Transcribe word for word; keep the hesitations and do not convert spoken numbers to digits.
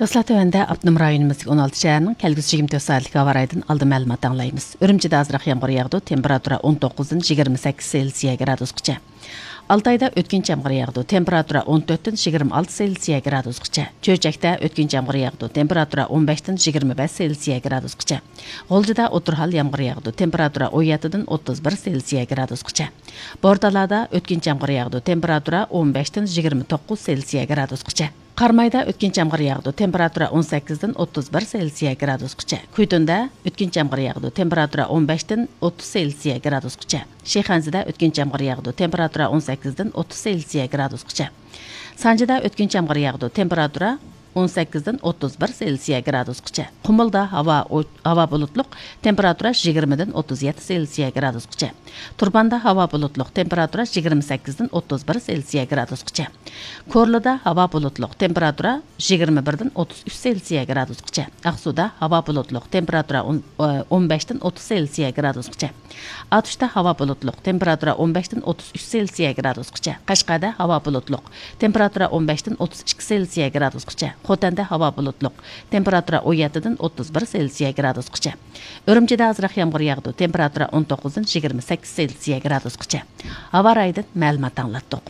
ئىسلاھ تۆۋەندە ئاپتونوم رايونىمىزدىكى ئون ئالتە شەھەرنىڭ كەلگۈسى يىگىرمە تۆت سائەتلىك ھاۋا رايىدىن ئالدىن مەلۇمات ئاڭلايمىز. ئۈرۈمچىدە ئازراق يامغۇر ياغىدۇ، تېمپېراتۇرا ئون توققۇزدىن يىگىرمە سەككىز سېلسىيە گرادۇسقىچە. ئالتايدا ئۆتكۈنچى يامغۇر ياغىدۇ، تېمپېراتۇرا ئون تۆتتىن يىگىرمە ئالتە سېلسىيە گرادۇسقىچە. چۆچەكتە ئۆتكۈنچى يامغۇر ياغىدۇ، تېمپېراتۇرا ئون بەشتىن يىگىرمە بەش سېلسىيە گرادۇسقىچە. غۇلجىدا ئوتتۇرا ھال يامغۇر ياغىدۇ، تېمپېراتۇرا ئون يەتتىدىن ئوتتۇز بىر سېلسىيە گرادۇسقىچە. بورتالادا ئۆتكۈنچى يامغۇر ياغىدۇ، تېمپېراتۇرا ئون بەشتىن يىگىرمە توققۇز سېلسىيە گرادۇسقىچە. قارامايدا ئۆتكۈنچى يامغۇر ياغىدۇ، تېمپېراتۇرا ئون سەككىزدىن ئوتتۇز بىر سېلسىيە گرادۇسقىچە. كۈيتۇندا ئۆتكۈنچى يامغۇر ياغىدۇ، تېمپېراتۇرا ئون بەشتىن ئوتتۇز سېلسىيە گرادۇسقىچە. شىخەنزىدە ئۆتكۈنچى يامغۇر ياغىدۇ، تېمپېراتۇرا ئون سەككىزدىن ئوتتۇز سېلسىيە گرادۇسقىچە. سانجىدا ئۆتكۈنچى يامغۇر ياغىدۇ، تېمپېراتۇرا ئون سەككىزدىن ئوتتۇز بىر سېلسىيە گرادۇسقىچە. قۇمۇلدا ھاۋا ئو-، ھاۋا بۇلۇتلۇق، تېمپېراتۇرا يىگىرمىدىن ئوتتۇز يەتتە سېلسىيە گرادۇسقىچە. تۇرپاندا ھاۋا بۇلۇتلۇق، تېمپېراتۇرا يىگىرمە سەككىزدىن ئوتتۇز بىر سېلسىيە گرادۇسقىچە. كورلىدا ھاۋا بۇلۇتلۇق، تېمپېراتۇرا يىگىرمە بىردىن ئوتتۇز ئۈچ سېلسىيە گرادۇسقىچە. ئاقسۇدا ھاۋا بۇلۇتلۇق، تېمپېراتۇرا ئون، ئون بەشتىن ئوتتۇز سېلسىيە گرادۇسقىچە. ئاتۇشتا ھاۋا بۇلۇتلۇق، تېمپېراتۇرا ئون بەشتىن ئوتتۇز ئۈچ سېلسىيە گرادۇسقىچە. قەشقەردە ھاۋا بۇلۇتلۇق، تېمپېراتۇرا ئون بەشتىن ئوتتۇز ئىككى سېلسىيە گرادۇسقىچە. خوتەندە ھاۋا بۇلۇتلۇق، تېمپېراتۇرا ئون يەتتىدىن ئوتتۇز بىر سېلسىيە گرادۇسقىچە. ئۈرۈمچىدە ئازراق يامغۇر ياغىدۇ، تېمپېراتۇرا ئون توققۇزدىن يىگىرمە سەككىز سېلسىيە گرادۇسقىچە. ھاۋا رايىدىن مەلۇمات ئاڭلاتتۇق.